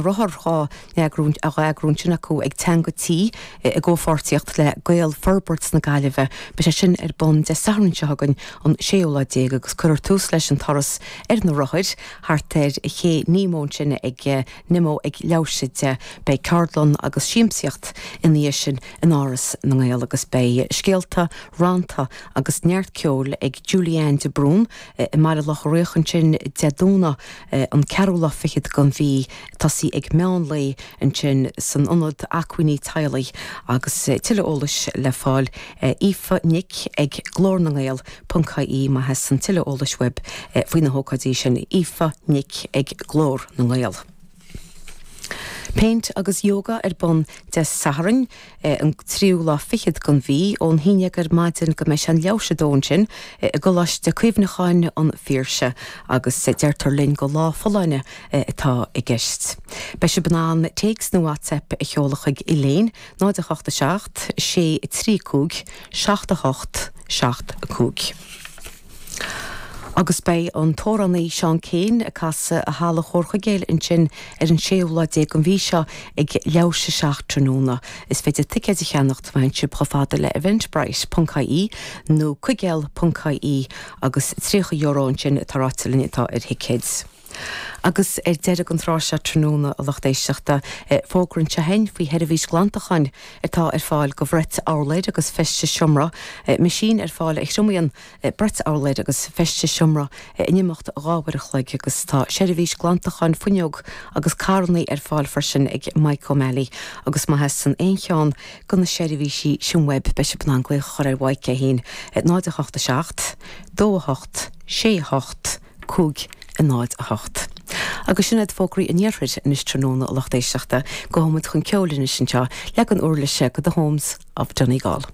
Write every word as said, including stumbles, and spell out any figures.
Rothar dhá eagrú ansin acu ag Teanga Tí i gcomhpháirtíocht le Gaelfhorbairt na Gaillimhe. Beidh sé sin ar bun Dé Sathairn seo chugainn an séú lá déag agus cuirfear tús leis an turas ar na rothair thart ar Ché Nemo ansin ag Nemo ag leathuair tar éis a deich. Beidh ceardlann agus siamsaíocht ina dhiaidh sin in Áras na nGael agus beidh scéalta, rannta agus neart ceoil ag Julianne de Brún i mBaile Locha Riach ansin Dé Domhnaigh an ceathrú lá fichead den mhí tosaí ag meán lae ansin san ionad acmhainní teaghlaigh agus tuilleadh eolais le fáil Aoife Nic ag Glór na nGael ponc ie má theastaíonn tuilleadh eolais uaibh faoi na hócáidí sin Aoife Nic ag Glór na nGael. Péint agus yoga ar bun Dé Sathairn an tríú lá fichead den mhí ón haon déag ar maidin go mbeidh sé an leathuair tar éis a dó ansin i gColáiste Cuimhneacháin an Phiarsaigh agus deirtear linn gur lá folláine atá i gceist. Beidh sibh in ann téacs nó WhatsApp a sheoladh chuig Elaine náid a hocht a seacht sé trí cúig seacht a hocht seacht a cúig. Agus beidh an t-amhránaí Seán Keane ag casadh i Halla Chomhar Chuigéil ansin ar an séú lá déag den mhí seo ag leathuair tar éis a seacht tráthnóna. Is féidir ticéid a cheannacht má théann sibh chomh fada le eventbrite.ie nó cuigéal.ie agus tríocha euro ansin atá ráite linn atá ar thicéid. Agus ar deireadh an tráth seo tráthnóna a lucht éisteachta fógra anseo againn faoi sheirbhís glantacháin atá ar fáil go bhrait urláir agus feistis seomra, meaisín ar fáil a thriomaíonn brait urláir agus feistis seomra in imeacht dhá uair a chloig agus tá seirbhís glantacháin fuinneog agus carranna ar fáil freisin ag Mike O'Malley agus má theastaíonn aon cheann de na seirbhísí sin uaibh beidh sibh in ann glaoch a chur ar Mike é féin náid a hocht a seacht, dó a hocht, sé a hocht, cúig a náid a hocht. Agus sin iad fógraí an iarthair anois tráthnóna a lucht éisteachta gabhfaidh muid chun ceoil anois anseo leagan uirlise de The Homes of Donegal.